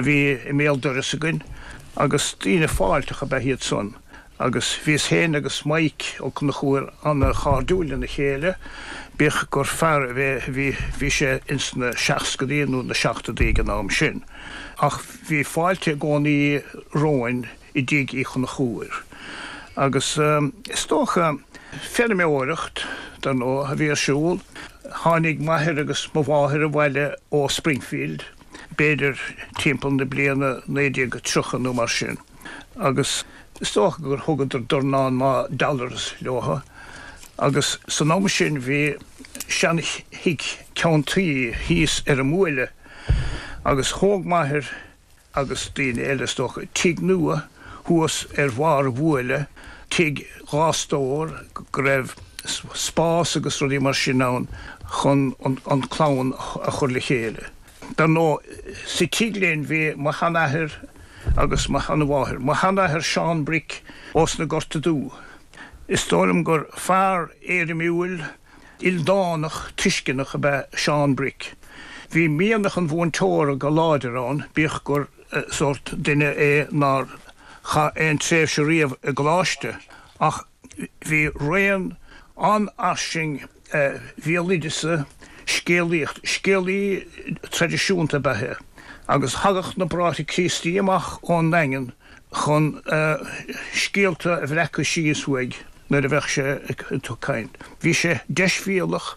a bhí i mbéal dorais againn agus daoine fáilteach ab ea iad san agus bhíos féin agus Mike Ó Conchúir ana-chairdiúil lena chéile, bíodh gur fear a bhí, bhí sé ins na seascadaí nó na seachtóidí ag an am sin. Ach bhí fáilte i gcónaí romhainn i dtigh Uí Chonchúir. Agus is dócha, feirmeoireacht, dar ndóigh, a bhí ar siúl. Tháinig m'athair agus mo mháthair abhaile ó Springfield, b'fhéidir timpeall na bliana 1930 nó mar sin, agus is dócha gur thugadar dornán maith dollars leothu. Agus san am sin bhí seanthigh ceann tuí thíos ar an mbuaile agus thóg m'athair, agus daoine eile is dócha, tigh nua thuas ar bharr an bhuaile, tigh dhá stór go raibh spás agus rudaí mar sin ann chun an clann a chur le chéile. Dar ndóigh, sa tigh linn bhí mo sheanathair agus mo sheanmháthair. Mo sheanathair Seán Bric ós na Gorta Dubha. Is dóigh liom gur fear éirimiúil, Ildánach tuisceanach ab ea Seán Bric. Bhí mianach an mhúinteora go láidir ann, bíodh gur sórt duine é nár chaith aon tréimhse riamh i gcoláiste, ach bhí raon an-fhairsing bhéaloideasa, scéalaíocht, scéalaí traidisiúnta ab ea é, agus thagadh na Bráithre Críostaí amach ón nDaingean chun scéalta a bhreacadh síos uaidh nuair a bheadh sé ag caint. Bhí sé deisbhéalach,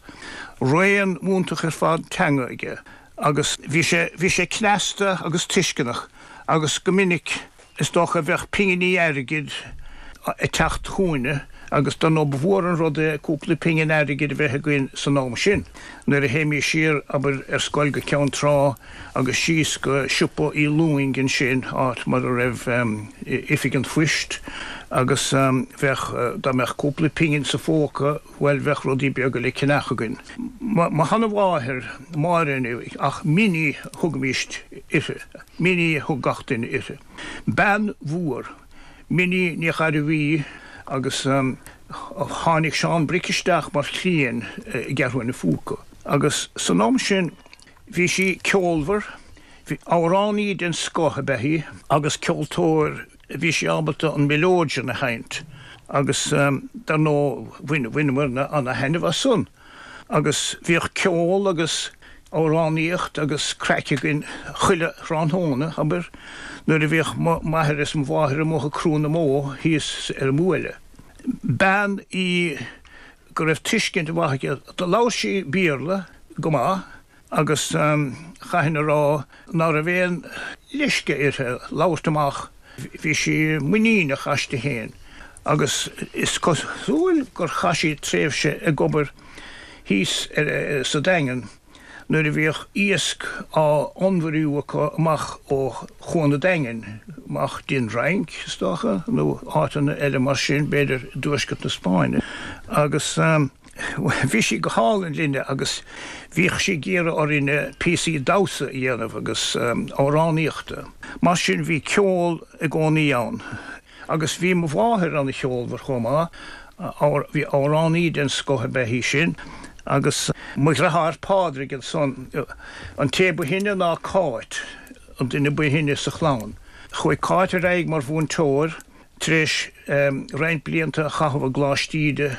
raon iontach ar fad teanga aige agus bhí sé, bhí sé cneasta agus tuisceanach agus go minic is dócha bheadh pinginí airgid ag teacht chugainne agus dar ndóigh ba mhór an rud é cúpla pingin airgid a bheith againn san am sin nuair a théimís siar, abair, ar scoil go Ceann Trá. agus síos go siopa Uí Lúing ansin, áit mar a raibh oifig an phoist, agus bheadh, dá mbeadh cúpla pingin sa phóca, bhuel, bheadh rudaí beaga le ceannach againn. Mo sheanamháthair, Máire, ach Minnie a thugaimíst uirthi, Minnie a thug gach duine uirthi. Bean mhór, Minnie Ní Ghairbhí, agus tháinig Seán Bric isteach mar chliaint i gCeathrú an Phúca, agus san am sin, Bhí sí ceolmhar, bhí, amhránaí den scoth ab ea í agus ceoltóir, bhí sí ábalta an mileodeon a sheinnt agus dar ndóigh bhain, bhaineamarna ana-thaitneamh as san. Agus bhíodh ceol agus amhránaíocht agus craic againn chuile thráthnóna, abair, nuair a bhíodh m'athair is mo mháthair amuigh ag crú na mbó thíos ar an mbuaile. Bean í go raibh tuiscint mhaith aici. Do labhair sí Béarla go maith agus chaithfinn a rá ná raibh aon leisce uirthi labhairt amach. Bhí sí muiníneach aisti féin agus is cosúil gur chaith sí tréimhse ag obair thíos sa Daingean. nuair a bhíodh iasc á onnmhairiú acu amach ó Chuan an Daingin, amach dtí an Fhrainc, is dócha, nó áiteanna eile mar sin, b'fhéidir i dtuaisceart na Spáinne. Agus bhí sí go hálainn linne agus bhíodh sí ag iarraidh orainne píosaí damhsa a dhéanamh agus amhránaíochta. Mar sin bhí ceol i gcónaí ann. Agus bhí mo mháthair ana-cheolmhar chomh maith, bhí amhránaí den scoth ab ea í sin. Agus mo dhriotháir Pádraig ansan, an té ba shine ná Cáit, an duine ba shine sa chlann. Chuaigh Cáit ar aghaidh mar mhúinteoir tar éis roinnt blianta a chaitheamh i gColáiste Íde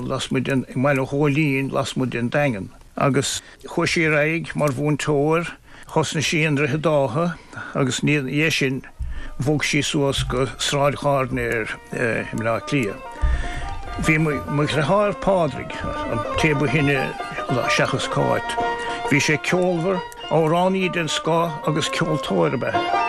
lasmuigh den, i mBaile Ghóilín lasmuigh den Daingean. Agus chuaigh sí ar aghaidh mar mhúinteoir. Thosnaigh sí i nDroichead Átha agus ina dhiaidh sin bhog sí suas go Sráid Ghairdinéir i mBleá Cliath. Bhí mo dhriotháir Pádraig, an té ba shine seachas Cáit, bhí sé ceolmhar, amhránaí den scoth agus ceoltóir ab ea.